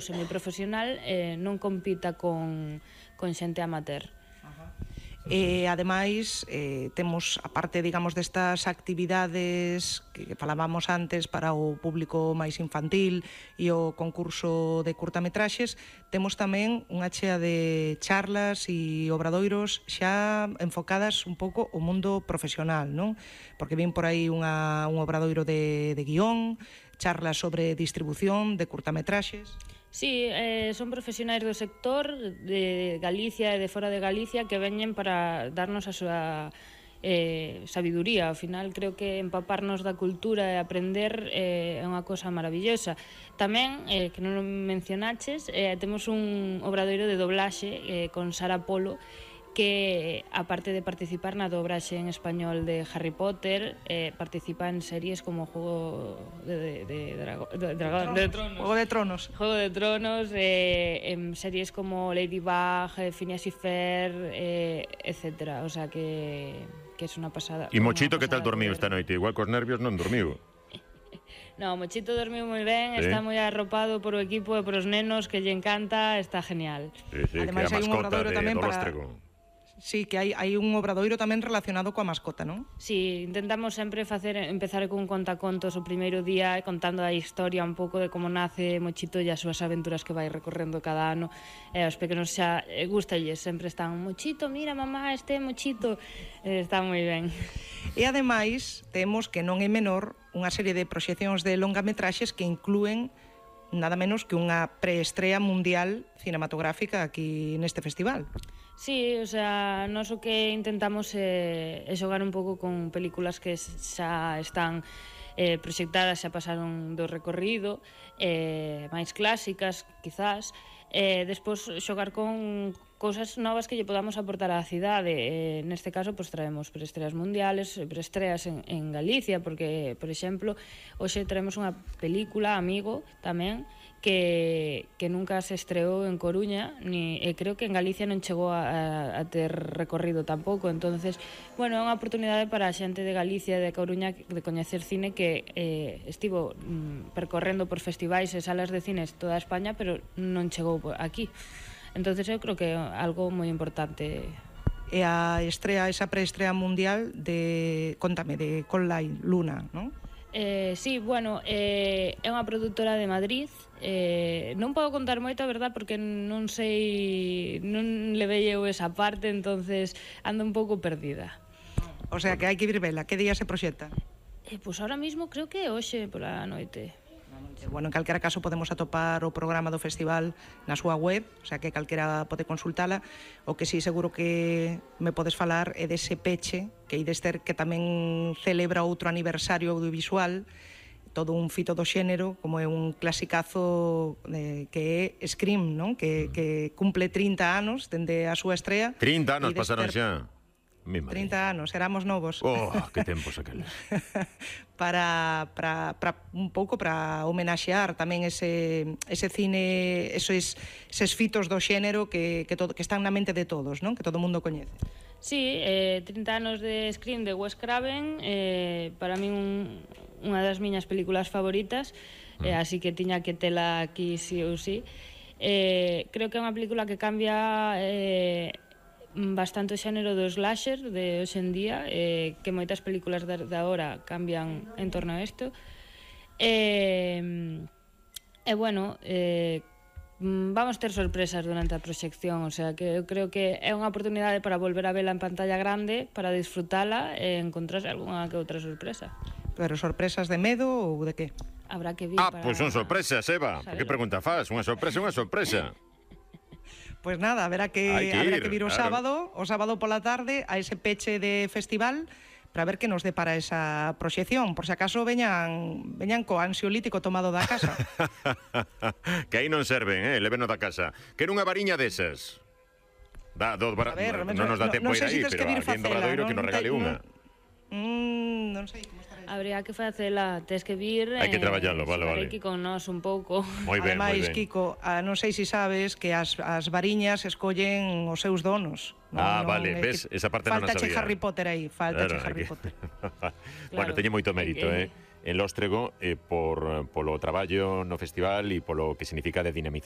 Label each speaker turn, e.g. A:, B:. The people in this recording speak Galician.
A: semiprofesional non compita con xente amateur.
B: E, ademais, temos, aparte, digamos, destas actividades que falábamos antes para o público máis infantil e o concurso de curtametraxes, temos tamén unha chea de charlas e obradoiros xa enfocadas un pouco ao mundo profesional, non? Porque vin por aí un obradoiro de guión, charlas sobre distribución de curtametraxes.
A: Sí, son profesionais do sector de Galicia e de fora de Galicia que veñen para darnos a súa sabiduría. Ao final, creo que empaparnos da cultura e aprender é unha cosa maravillosa. Tamén, que non mencionaches, temos un obradoiro de doblaxe con Sara Polo, que, aparte de participar na dobraxe en español de Harry Potter, participa en series como Juego de Tronos, en series como Ladybug, Phineas y Ferb, etcétera. O sea que é unha pasada.
C: E Mochito, que tal dormiu esta noite? Igual cos nervios non dormiu.
A: No, Mochito dormiu moi ben, está moi arropado por o equipo e por os nenos, que lle encanta, está genial.
B: Ademais,
C: que a mascota de Dolóstrego.
B: Sí, que hai un obradoiro tamén relacionado coa mascota, non?
A: Sí, intentamos sempre empezar con un contacontos o primeiro día, contando a historia un pouco de como nace Mochito e as súas aventuras que vai recorrendo cada ano. Os pequenos xa gustalles, sempre están: Mochito, mira mamá, este é Mochito. Está moi ben.
B: E ademais, temos, que non é menor, unha serie de proxeccións de longametraxes que inclúen nada menos que unha preestrea mundial cinematográfica aquí neste festival.
A: Sí, o sea, nós o que intentamos é xogar un pouco con películas que xa están proxectadas, xa pasaron do recorrido, máis clásicas, quizás, despois xogar con cousas novas que lle podamos aportar á cidade. Neste caso, pues, traemos preestreas mundiales, preestreas en Galicia, porque, por exemplo, hoxe traemos unha película, Amigo, tamén, que nunca se estreou en Coruña, creo que en Galicia non chegou a ter recorrido tampouco. Entonces, bueno, é unha oportunidade para a xente de Galicia e de Coruña de coñecer cine que estivo percorrendo por festivais e salas de cines toda España, pero non chegou aquí. Entonces eu creo que é algo moi importante.
B: E a esa preestrea mundial de, contame, de Conline Luna, non?
A: Sí, bueno, é unha produtora de Madrid. Non podo contar moito, a verdad, porque non sei, non levei eu esa parte, entonces ando un pouco perdida.
B: O sea, que hai que vir vela. Que día se proxecta?
A: Pois ahora mismo creo que é hoxe pola noite.
B: Bueno, en calquera caso podemos atopar o programa do festival na súa web, o sea que calquera pode consultala. O que sí seguro que me podes falar é dese peche que ides ter, que tamén celebra outro aniversario audiovisual, todo un fito do xénero, como é un clasicazo que é Scream, non? Que cumple 30 anos dende a súa estrea.
C: 30 anos pasaron xa.
B: 30 anos, éramos novos.
C: Oh, que tempos aqueles.
B: para un pouco para homenaxear tamén ese cine, eses fitos do xénero que están na mente de todos, non? Que todo o mundo coñece.
A: Sí, 30 anos de Scream de Wes Craven, para min unha das miñas películas favoritas, así que tiña que tela aquí sí ou sí. Creo que é unha película que cambia bastante o xénero do slasher de hoxe en día, que moitas películas de agora cambian en torno a isto. Bueno, vamos ter sorpresas durante a proxección, o sea que eu creo que é unha oportunidade para volver a vela en pantalla grande, para disfrutala e encontrarse algunha que outra sorpresa.
B: Pero sorpresas de medo ou de que?
A: Habrá que vir
C: pois son sorpresas, Eva. Por que pregunta faz? Unha sorpresa é unha sorpresa.
B: Pois nada, haberá que vir o sábado pola tarde a ese peche de festival para ver que nos depara esa proxección. Por se acaso veñan co ansiolítico tomado da casa.
C: Que aí non serven, leveno da casa. Quero unha variña desas. Non nos dá tempo ir aí, pero alguén do obradoiro que nos regale unha.
B: Non sei como estará.
A: Habría que facela, tes que vir.
C: Hai que traballalo, vale.
A: Aquí con nós un pouco.
C: Moi ben, moi ben.
B: Ademais, Kiko, non sei se sabes que as variñas escollen os seus donos.
C: Vale, ves, esa parte non a sabía.
B: Faltache Harry Potter aí, faltache Harry Potter.
C: Bueno, teñe moito mérito, en Lóstrego polo traballo no festival e polo que significa de dinamización